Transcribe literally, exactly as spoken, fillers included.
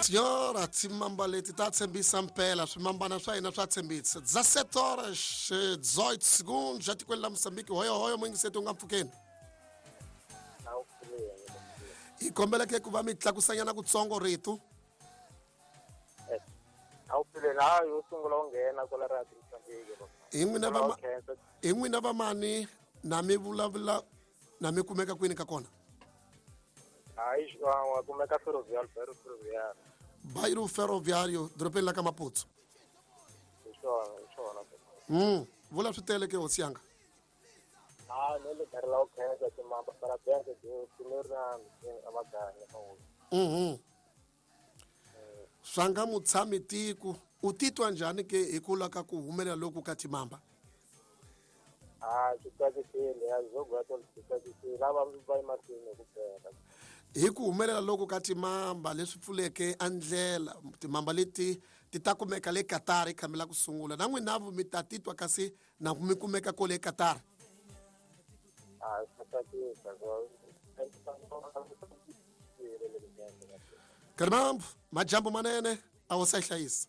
Senhora, timamba leti ta tshembisa mpela, swimambana swa hina swa tshembisa. dezessete horas dezoito segundos, etikweni la Mozambique. Hoyo hoyo muyingiseti u nga mpfukeni. Hi kombela ke ku va mi tlakusanyana kutsongo rito. A wu pfuleni, hayi yo sungula u nghena kwala Radio Mozambique. Hi n'wina va hi n'wina va mani na mi vulavula na mi kumeka kwini ka kona? Hayi, wa kumeka Ferroviário, Bairro Ferroviário. Bairro Ferroviário, dorobeni la ka Maputo. Hi swona, hi swona. Mm, vula swi tele ke hosi yanga. Ah, ne le karhi la u khensa timamba parabéns de amaganya. Mhm. Swa nga mutshami tiko u titwa njhani ke hi ku lwa ka ku humelela loku ka timamba? Ah, swi tsakisile, ya zogato swi tsakisile, lava va emahlweni ku bela. Hi ku humelela loku ka timamba leswi pfuleke a ndlela, timamba leti ti ta kumeka le Qatar ikhamela ku sungula. Na n'wina mi ta titwa kasi na mi kumeka kole Qatar. Ah, swi tsakisa. Karimambu, majambo manene a wu sa hlayisa.